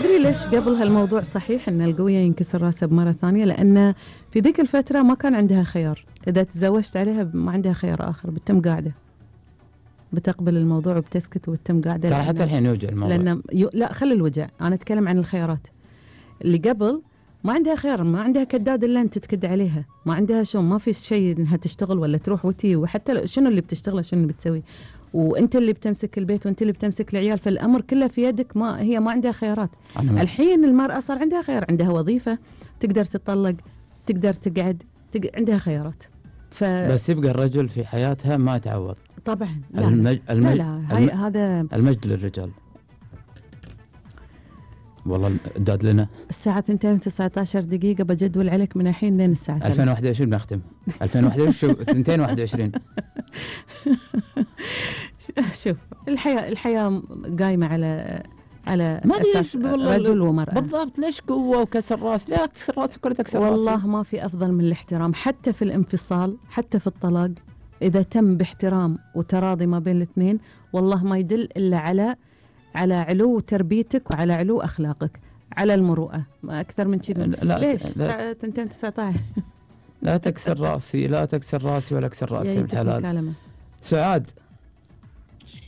تدري ليش قبل هالموضوع صحيح ان القوية ينكسر راسها بمرة ثانية؟ لأن في ذيك الفترة ما كان عندها خيار، إذا تزوجت عليها ما عندها خيار آخر، بتتم قاعدة، بتقبل الموضوع وبتسكت وبتتم قاعدة. ترى حتى الحين يوجع الموضوع، لأن لا خلي الوجع، أنا أتكلم عن الخيارات اللي قبل. ما عندها خيار، ما عندها كداد إلا أنت تكد عليها، ما عندها ما في شيء إنها تشتغل ولا تروح وتي، وحتى شنو اللي بتشتغله شنو اللي بتسوي، وانت اللي بتمسك البيت وانت اللي بتمسك العيال، فالامر كله في يدك. هي ما عندها خيارات. الحين المرأة صار عندها خيار، عندها وظيفة، تقدر تطلق، تقدر تقعد، عندها خيارات. بس يبقى الرجل في حياتها ما يتعوض طبعا. لا هذا المجد للرجال. والله الداد لنا الساعة 2:19 بجدول عليك من الحين لين الساعة 2021 بنختم 2021 2021. شوف الحياة قايمة على ما أساس رجل ومرأة بالضبط. ليش قوة وكسر راس؟ لا تكسر راسك ولا تكسر راسك. والله ما في أفضل من الاحترام، حتى في الانفصال، حتى في الطلاق، إذا تم باحترام وتراضي ما بين الاثنين، والله ما يدل إلا على علو تربيتك وعلى علو أخلاقك، على المروءة، ما أكثر من كذا. ليش ساعة 2:19 لا تكسر راسي، لا تكسر راسي ولا أكسر راسي الحلال. سعاد،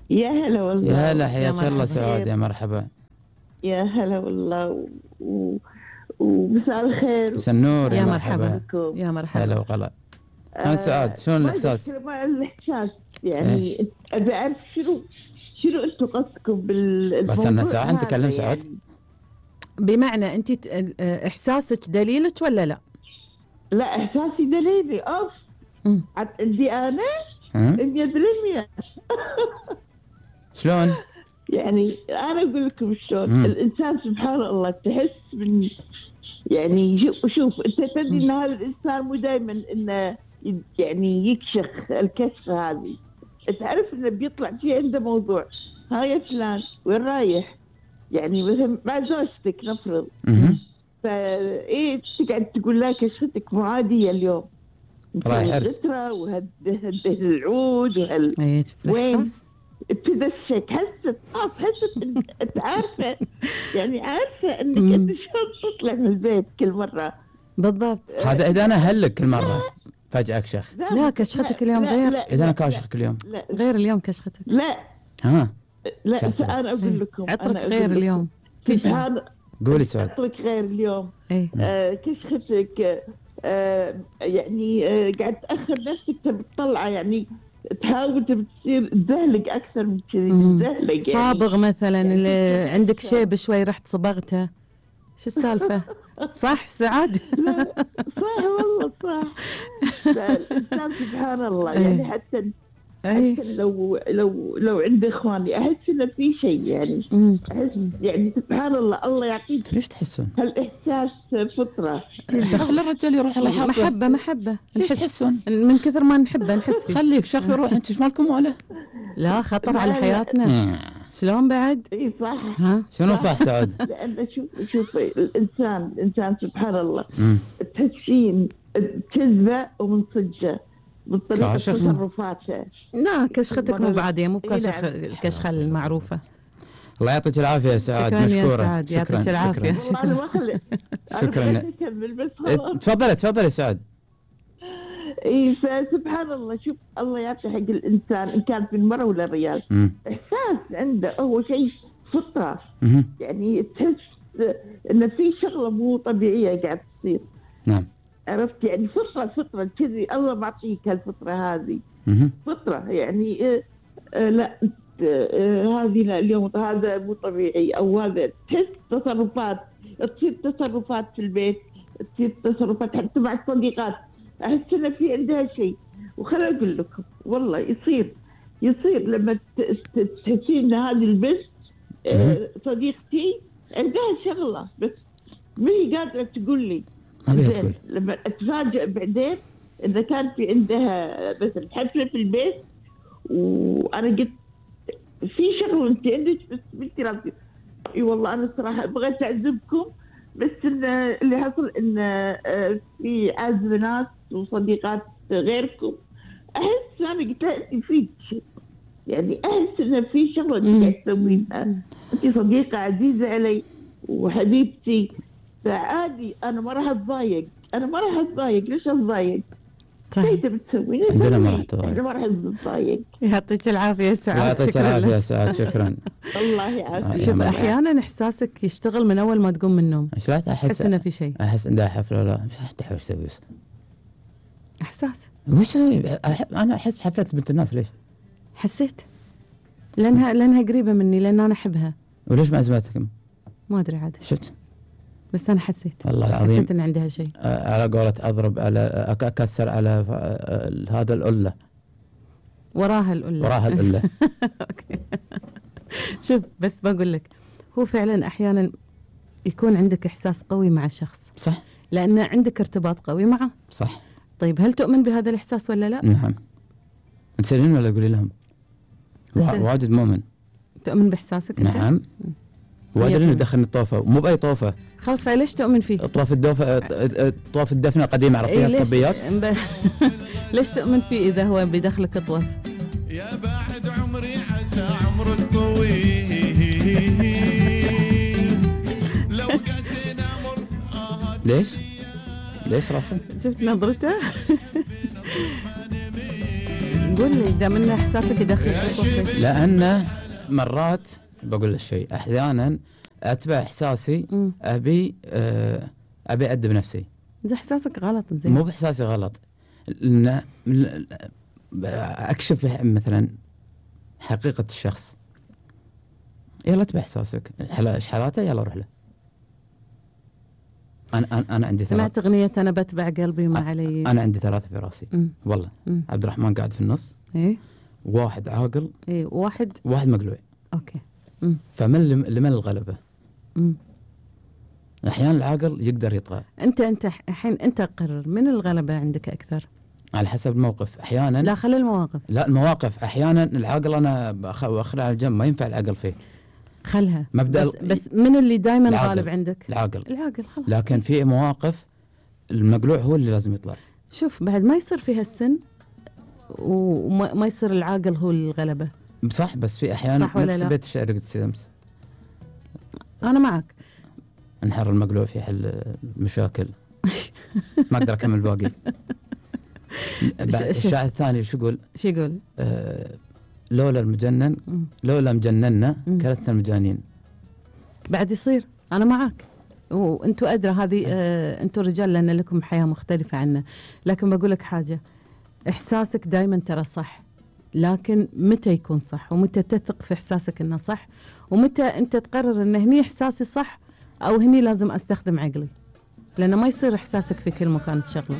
يا هلا والله. يا هلا، حياك الله سعاد، يا مرحبا. يا هلا والله ومساء الخير، مساء النور، يا مرحبا. يا مرحبا، هلا وغلا. سعاد، شلون الإحساس؟ الإحساس يعني أبي أعرف شنو أنتم قصدكم بالموضوع؟ بس أنا ساعة نتكلم سعاد. يعني بمعنى أنت إحساسك دليلك ولا لا؟ لا، إحساسي دليلي. عندي أنا 100%. شلون؟ يعني أنا أقول لكم شلون الإنسان سبحان الله تحس من يعني شوف أنت تدري إن هذا الإنسان مو دائما إنه يعني يكشخ الكشفة هذه، تعرف إنه بيطلع فيه عنده موضوع. ها يا فلان وين رايح؟ يعني مثلا مع زوجتك نفرض، فإيه تقعد تقول لها كشفتك مو عادية اليوم، رايح حرس وهده العود وين تدشك، حست انت عارفه، يعني عارفه انك انت شلون تطلع من البيت كل مره. بالضبط. هذا اذا انا هلك كل مره فجأة كشخ. لا كشختك اليوم غير. اذا انا كاشخك اليوم غير اليوم كشختك. لا انا اقول لكم عطرك غير اليوم. في شيء قولي سعاد. عطرك غير اليوم. كشختك يعني قاعد تأخر نفسك، تبي تطلعه، يعني تحاول تبي تصير تدهلق أكثر من كذي، تدهلق يعني. صابغ مثلا، اللي عندك شيب شوي رحت صبغته، شو السالفة؟ صح سعاد؟ لا صح والله صح. الإنسان سبحان الله يعني حتى لو عندي إخواني أحس إن في شيء، يعني أحس يعني سبحان الله يعطيك. ليش تحسون؟ هالإحساس فطرة. خلي الرجال يروح الله يحفظه. محبة. ليش تحسون؟ من كثر ما نحبه نحس فيه. خليك شخ يروح، أنت إيش مالكم ولا؟ لا خطر على حياتنا. شلون بعد؟ اي صح. ها شنو صح سعود؟ لأن شوف الإنسان سبحان الله تحسين كذبة ومن صجة من طريقة تصرفاته. لا كشختك مو بعادية، مو كشخة المعروفة. الله يعطيك العافية يا سعاد، مشكورة. شكرا يا سعاد، يعطيك العافية. شكرا. تفضلي يا سعاد. اي فسبحان الله، شوف الله يعطي حق الانسان ان كان في المرأة ولا الرجال، احساس عنده هو شيء فطرة. يعني تحس ان في شغلة مو طبيعية قاعد تصير. نعم. عرفت يعني فطرة كذي، الله معطيك هالفطرة هذه. فطرة يعني لا هذه لا، اليوم هذا مو طبيعي، او هذا تحس تصرفات، تصير تصرفات في البيت، تصير تصرفات حتى مع الصديقات، أحس إن في عندها شيء. وخليني أقول لكم والله يصير لما تحسين إن هذه البنت صديقتي عندها شغلة بس ما هي قادرة تقول لي. لما أتفاجأ بعدين إذا كان في عندها مثلا حفلة في البيت وأنا قلت في شغلة أنت عندك بس بنتي راسي، إي والله أنا صراحة بغيت أعزمكم، بس إن اللي حصل إن في عازم ناس وصديقات غيركم، أحس أنا قلت لها أنت فيك يعني أحس إن في شغلة أنت قاعد تسويها، أنت صديقة عزيزة علي وحبيبتي، فعادي أنا ما راح أتضايق، ليش أتضايق؟ صحيح. تبي تسوي؟ عندنا ما راح تضايق. احنا ما راح نتضايق. يعطيك العافية سعاد. يعطيك العافية سعاد، شكرا. الله يعافيك. شوف أحيانا إحساسك يشتغل من أول ما تقوم من النوم. ايش لا تحس إنه في شيء. أحس عندها حفلة ولا مش تحب ايش تسوي؟ إحساس. وش أنا أحس حفلة بنت الناس ليش؟ حسيت. لأنها قريبة مني، لأن أنا أحبها. وليش ما أزمتكم؟ ما أدري عاد. شفت؟ بس أنا حسيت. والله العظيم. حسيت إن عندها شيء. على قولة أضرب على أكسر على هذا القلة. وراها القلة. أوكي. شوف بس بقول لك، هو فعلا أحيانا يكون عندك إحساس قوي مع الشخص. صح. لأن عندك ارتباط قوي معه. صح. طيب هل تؤمن بهذا الإحساس ولا لا؟ نعم. تسألين ولا قولي لهم؟ واجد مؤمن. تؤمن بإحساسك أنت؟ نعم. وادري انه دخلني الطوفه، مو باي طوفه. خلاص ليش تؤمن فيه؟ طواف الدفن القديمه عرفتيها الصبيات. ليش تؤمن فيه اذا هو بداخلك طواف؟ يا بعد عمري عسى عمرك طويل لو قاسينا مر. ليش رافع؟ شفت نظرته؟ قول لي دام ان احساسك يدخلك طواف. لانه مرات بقول الشيء احيانا اتبع احساسي. ابي ادب نفسي. اذا احساسك غلط زين. مو باحساسي غلط، اكشف مثلا حقيقه الشخص. يلا اتبع احساسك، ايش حالاته يلا روح له. انا عندي سمعت اغنيه انا بتبع قلبي ما علي. انا عندي ثلاثه في راسي. والله عبد الرحمن قاعد في النص. ايه. واحد عاقل. ايه. واحد مقلوع. اوكي. فمن لمن الغلبة؟ أحيانا العاقل يقدر يطغى. أنت الحين أنت قرر من الغلبة عندك أكثر؟ على حسب الموقف. أحيانا لا خلي المواقف. لا المواقف أحيانا العاقل أنا أخلع على الجنب، ما ينفع العقل فيه. خلها. مبدأ بس من اللي دائما غالب عندك؟ العاقل خلاص. لكن في مواقف المقلوع هو اللي لازم يطلع. شوف بعد ما يصير فيها السن وما يصير العاقل هو الغلبة. صح، بس في أحيانا نفس بيت الشعر قلت أمس. أنا معك. انحر المقلوع في حل المشاكل. ما أقدر أكمل باقي. الشاعر الثاني شو يقول؟ لولا المجنن لولا مجننا كلتنا المجانين. بعد يصير. أنا معك، وأنتوا أدرى هذه. أنتوا رجال لأن لكم حياة مختلفة عنا، لكن بقول لك حاجة، إحساسك دائما ترى صح، لكن متى يكون صح ومتى تثق في إحساسك إنه صح، ومتى أنت تقرر إن هني إحساسي صح أو هني لازم أستخدم عقلي، لأنه ما يصير إحساسك في كل مكان تشغله.